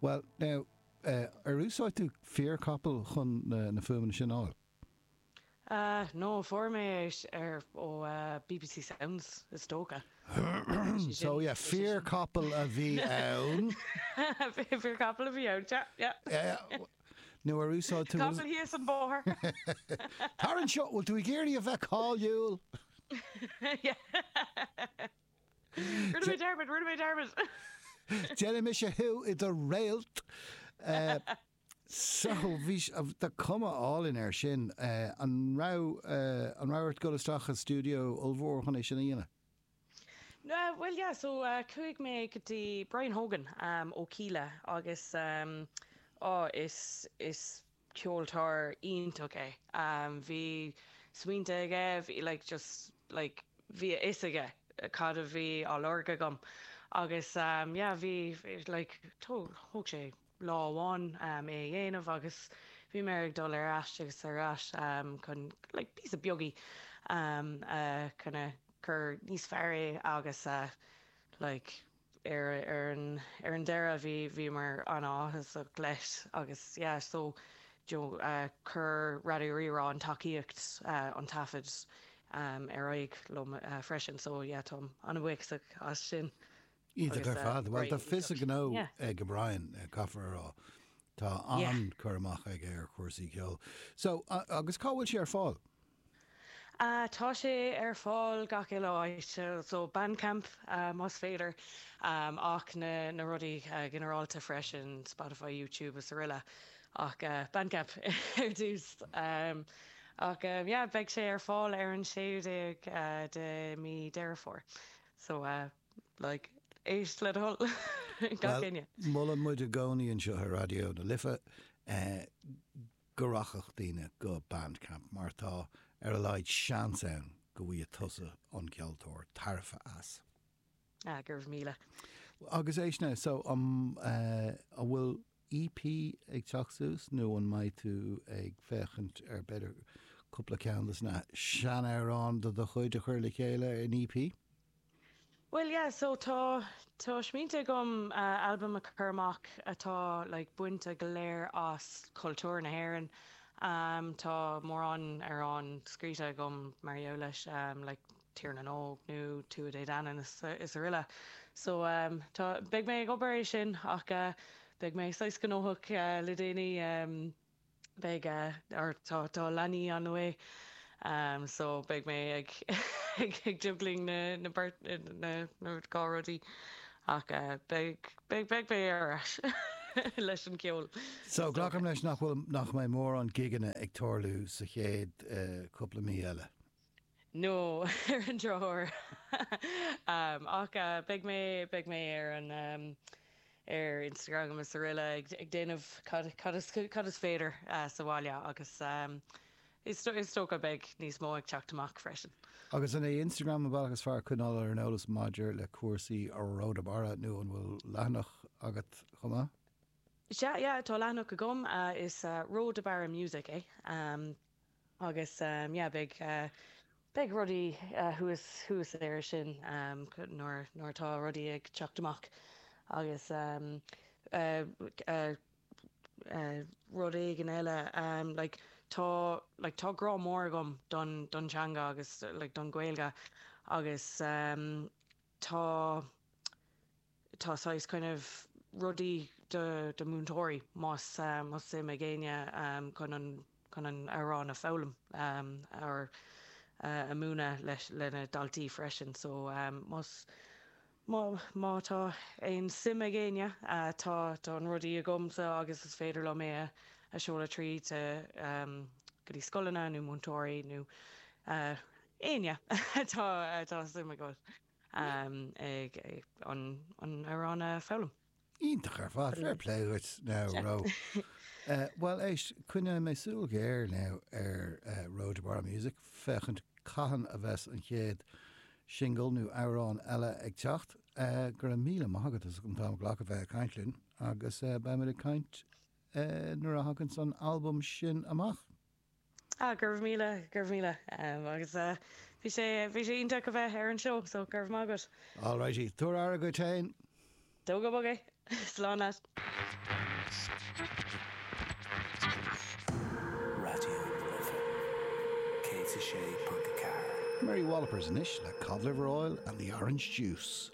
Bhuel, now, ar úsáid tú fíorchapall chun na fuaimeanna sin a fháil? No, fuair mé é ar ó BBC Sounds, is dócha. So yeah, fíorchapall a bhí ann. Fíorchapall a bhí ann, yeah, yeah. Nó ar úsáid tú. Capall thíos an bóthar. Tar anseo, bhfuil tú ag iarraidh a bheith cáiliúil? Yeah. Rinne mé dearmad, rinne mé dearmad. Déanfaidh mise thú i do réalt. So, bhí, tá cuma álainn air sin. An raibh, an raibh ort dul isteach i stiúideo ollmhór chun é sin a dhéanamh? Bhuel, yeah, so chuaigh mé go dtí Brian Hogan ó Kíla agus á, is, is ceoltóir iontach é. Bhí smaointe aige, bhí like just like bhí a fhios aige cad a bhí á lorg agam agus yeah, bhí like thóg sé lá amháin é a dhéanamh agus bhí mé ag dul ar ais agus ar ais chun like píosa beag a kind of cur níos fearr é agus like ar ar an ar an deireadh bhí bhíomar an-áthasach leis agus yeah so you know chuir Raidió Rí-Rá an tacaíocht an taifead ar aghaidh liom freisin so yeah táim an-bhuíochasach as sin. Iontach ar fad. Bhuel, tá fios a ghnó ag Brian, caithfear a rá. Tá an-cur amach aige ar chúrsaí ceoil. So, agus cá bhfuil sé ar fáil? Tá sé ar fáil gach uile áit, so Bandcamp más féidir, ach na na rudaí ginearálta freisin, Spotify, YouTube is araile. Ach Bandcamp ar dtús. Ach yeah, beidh sé ar fáil ar an 16ú de mí Deireadh Fómhair. So like, éist le do thoil, gach Bhuel, éinne. molann muid i gcónaí anseo ar Raidió na Life go rachadh daoine go Bandcamp mar tá ar a laghad seans ann go bhfaighidh tusa, an ceoltóir, tairbhe as. Ah, go raibh míle. Agus éist now, so um, an bhfuil EP ag teacht suas nó an mbeidh tú ag féachaint ar b'fhéidir cúpla ceann de na seanamhráin de do chuid a chur le chéile in EP? Bhuel yeah, so tá, tá smaointe agam albam a chur amach atá like bainte go léir as cultúr na hÉireann. Tá mórán amhrán scríte agam mar gheall leis, like Tír na nÓg nó Tuatha Dé Danann is is araile. So tá, beidh mé ag obair é sin ach beidh mé saghas gnóthach le déanaí. Beidh, or tá, tá leanaí on the way so beidh mé ag ag juggling na na beirt na na dhá rudaí ach beidh beidh beidh mé ar ais leis an gceol. So glacaim leis nach bhfuil nach mbeidh mórán gigeanna ag tarlú sa chéad cúpla mí eile? No, ar an drochuair. Ach beidh mé, beidh mé ar an, ar Instagram is araile ag, ag déanamh cad, cad is, cad is féidir sa bhaile agus is, is dócha beidh níos mó ag teacht amach freisin. Agus an é Instagram an bealach is fearr coinneáil ar an eolas maidir le cúrsaí Ró de Barra nó an bhfuil leathanach agat chomh maith? Sea, yeah, tá leathanach agam, is Ró de Barra Music é. Agus yeah beidh beidh rudaí thuas thuas air sin nuair nuair atá rudaí ag teacht amach agus rud éigin eile like tá like tá grá mór agam don don teanga agus like don Ghaeilge agus tá tá saghas kind of rudaí do do múinteoirí más más suim ag éinne chun an chun an amhrán a foghlaim or a múineadh leis lena daltaí freisin so más má má tá aon suim ag éinne tá tá an rudaí agamsa agus is féidir liom é a a seoladh tríd go dtí scoileanna nó múinteoirí nó éinne atá atá suim acu. ag an amhrán a foghlaim. Iontach ar fad, fair play dhuit now, Ró. Bhuel, éist, coinneoidh mé súil ghéar now ar Ró de Barra Music, féachaint cathain a bheas an chéad singil nó amhrán eile ag teacht. Go raibh míle maith agat as an t-am a ghlacadh bheith ag caint linn agus beimid ag caint nuair a thaganns an albam sin amach. Ah, go raibh míle, go raibh míle. Agus bhí sé, bhí sé iontach a bheith ar an seó, so go raibh maith agat. Alrighty, tabhair aire dhuit féin. Tóg go bog é. Slán leat. 106.4. Mary Wallopers anois le Cod Liver Oil and the Orange Juice.